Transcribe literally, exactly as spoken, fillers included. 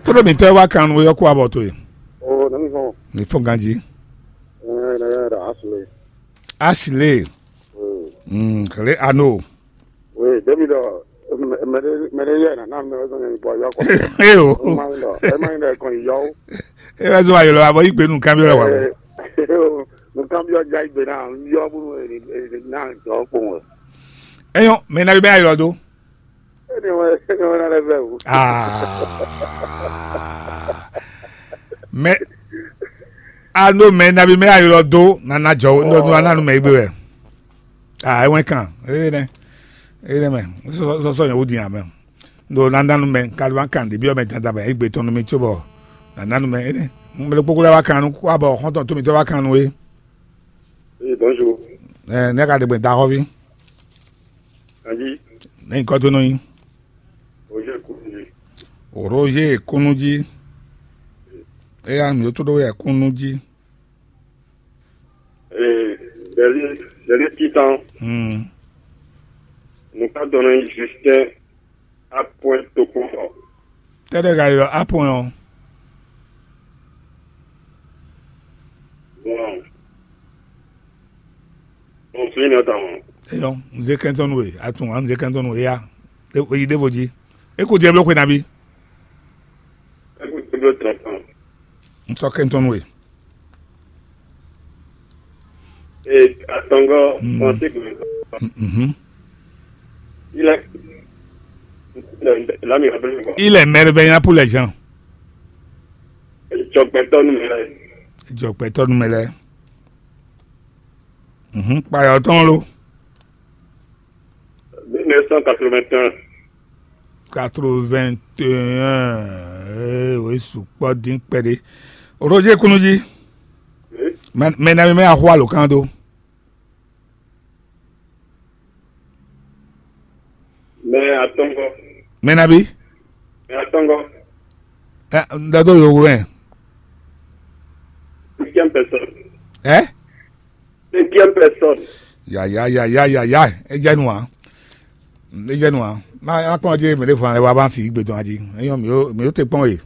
Tóɖó mǐtɔn e wá kan nú we ɔ́ kú abɔ towe. O, nɔ mi fɔn. Mi fɔn ganjí. Ɛɛ, nɔ yɛ da asile. Asile. Mm, kle ano. We, demi dɔ, mɛɖe mɛɖe yɛ na na mɛ zɔn yɛ bɔ yɔ kɔ. Eyo. Ema yin dɔ, ema yin dɔ kɔn yɔ. E wá zɔn ayɔlɔ abɔ yí gbenu kan bi lɔ wa. Nunkan bi ɔ ja igbe na yɔ bulu na jɔ kpɔn wɛ. Eyɔn, mɛ na bi bɛ ayɔlɔ do. Ene wɛ ene wɛ na lɛ vɛ o. Ah. Mɛ ano mɛ nabi mɛ ayɔlɔ do nana jɔ nɔ nɔ nanu mɛ igbe wɛ. Ah, e wɛn kan. Ene. Ene mɛ. Sɔsɔ sɔsɔ yɛ wudi amɛ. Ndo nana nu mɛ kalima kan de bi ɔ mɛ dada bɛ igbe tɔn nu mi tso bɔ nana nu mɛ ene. Mɛ kpokpo lɛ wa kan nu kwa bɔ xɔntɔn to mi tɔ wa kan nu e. Oui, bonjour. Ɛ ne ka de gbɛ da xɔvi. Anyi. Ne nyikɔ do nɔ nyi. Roger Kourouji. Roger Kourouji. Eya mi to ɖo yɛ Kourouji. Ee, ɖeli ɖeli titan. Hmm. Nukadɔnɔ Justin Apɔn Tokpɔnfɔ. Tɛɖɛ ka yi ɖɔ Apɔn ɔ? Bon. Bon, fini ɔ́ tɔn. Eyɔ, nze kɛntɔn nu e, atun, nze kɛntɔn nu e ya. E yi ɖevo ji. E ko diɛ blo xwe nabi. E ko diɛ blo tɔn tɔn. N sɔ kɛntɔn nu e. Ee, atɔngɔ, mm, français ko. Mhm. Il est, là, il est merveillant pour les gens. Jɔgbɛtɔ nu mɛ lɛ. Jɔgbɛtɔ nu mɛ lɛ. Mhm. Kpayɔ tɔn lo. Mille neuf cent quatre-vingt-un. Quatre-vingt-un. Ee, o yi sukpɔ dín kpɛɖé. Roger Kourouji. Oui. Mɛ mɛ na mi mɛ axɔ alo kan do. Mɛ atɔngɔ. Mɛ na bi. Mɛ atɔngɔ. Ɛ, n da do yo wɛ. Cinquième personne. Ɛ? Cinquième personne. Ya ya ya ya ya ya. E jɛ nu a. E jɛ nu a. Ma ma kpɔn je mɛ de fɔ ale wa ba si gbe dɔn aji. Eyɔn mi o mi o te kpɔn ye.